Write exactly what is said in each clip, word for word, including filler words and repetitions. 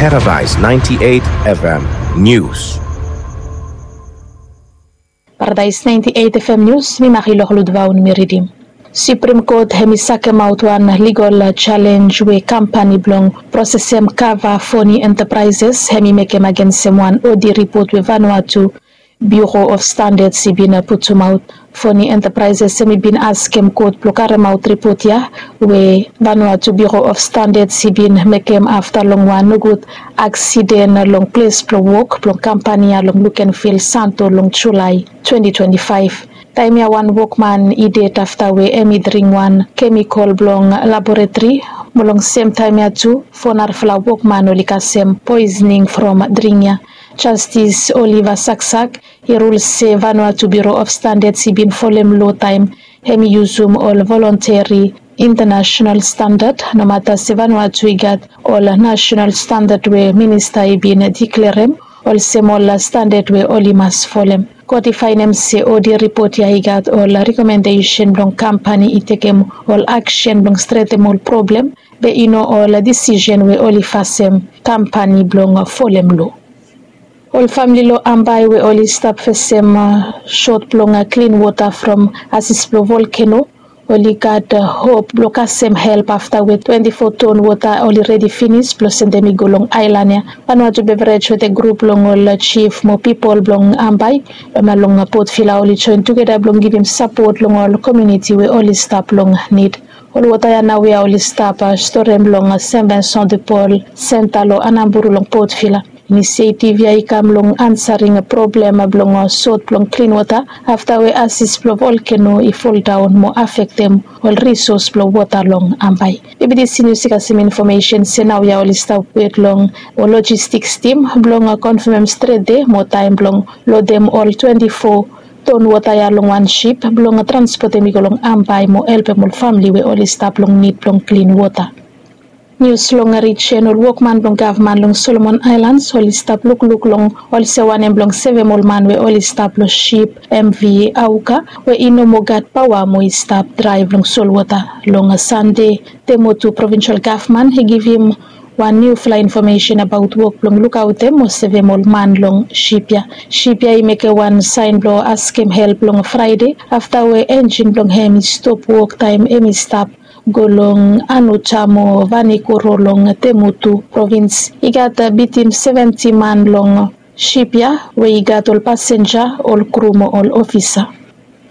Paradise ninety-eight F M News. Paradise ninety-eight F M News, mi Marilor Ludvaun mi ridim. Supreme Court hemi sakemaot wan legal challenge we kampani blong prosesem kava Foni Enterprises hemi mekem agensem wan audit report we Vanuatu Bureau of Standards i bin putumaot. Foni Enterprises hemi bin askem kot blong karemaot ripot ya we Vanuatu Bureau of Standards i bin mekem afta long wan nogud aksiden long ples blong wok blong kampani ya long Lukenvil Santo long Julae twenty twenty-five. Taem ya wan wokman i ded afta we hemi dring wan kemikol blong laboretri, mo long sem taem ya tu fo narafala wokman oli kasem poisoning from dring ya. Jastis Oliver Saksak i rul se Vanuatu Bureau of Standards i bin folem loa taem hemi yusum ol volunteri international standard, nomata se Vanuatu i gat ol national standard we minista i bin diklerem olsem ol standard we oli mas folem. Kot i faenem se audit ripot ya i gat ol rekomendesen blong kampani i tekem ol aksen blong stretem ol problem, be i no ol disisen we oli fasem kampani blong folem loa. Ol famle long Ambae we oli stap fesem sot blong klin wota from asis blong volkeno oli gat hop blong kasem help afta we twenti fo ton wota oli redi finis blong sendem i go long aelan ya. Vanuatu Beverage wetem grup blong ol jif mo pipol blong Ambae long Port Vila oli joen tugeta blong givim sapot long ol komuniti we oli stap long nid. Ol wota ya naoia oli stap storem long Saint Vincent de Paul Center long Anamburu long Port Vila. Inisietiv ya i kam long ansaring problem blong sot blong klin wota afta we asis blong volkeno i foldaon mo afektem ol risos blong wota long Ambae. Bibidisi nius i kasem infomesen se naoia oli stap wet long ol lojistiks tim blong konfamem stret de mo taem blong lodem ol twenti fo ton wota ya long wan sip blong transpotem i go long Ambae mo helpem ol famle we oli stap long nid blong klin wota. Nius long rijen, ol wokman blong gavman long Solomon Aelans oli stap lukluk long olsem wanem blong sevem ol man we oli stap long sip M V Auka we i no moa gat paoa mo i stap draev long solwota. Long Sande, Temotu provinsel gavman i givim wan niufala infomesen abaot wok blong lukaotem mo sevem ol man long sip ya. Sip ya i mekem wan saen blong askem help long Fraede afta we enjin blong hem i stop wok taem hem i stap go long Anuta mo Vanikoro long Temotu provins. I gat bitim seventi man long sip ya we i gat ol pasenja, ol kru mo ol ofisa.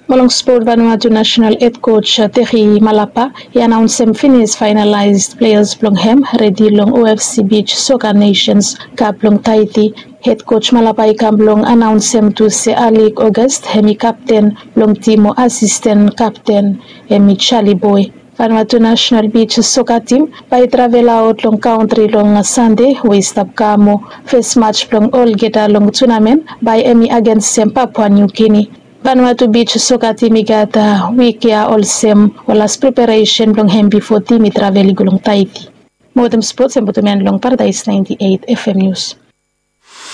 Mo long spot, Vanuatu nasenal hed koj Teri Malapa i anaonsem finis faenalaes pleas blong hem redi long O F C Beach Soccer Nations Cup blong Tahiti. Hed koj Malapa i kam blong anaonsem tu se Alec August hem i kapten blong tim mo asisten kapten hem i Charlie Boy. Vanuatu nasenal beach soka tim bae i travelaot long kaontri long Sande we i stap kam mo fes maj blong olgeta long tunamen bae hem i agensem Papua New Guinea. Vanuatu beach soka tim i gat wik ya olsem ol las preparesen blong hem bifo tim i travel i go long Tahiti. Mo wetem spots, hem putum en long Paradise ninety-eight F M News.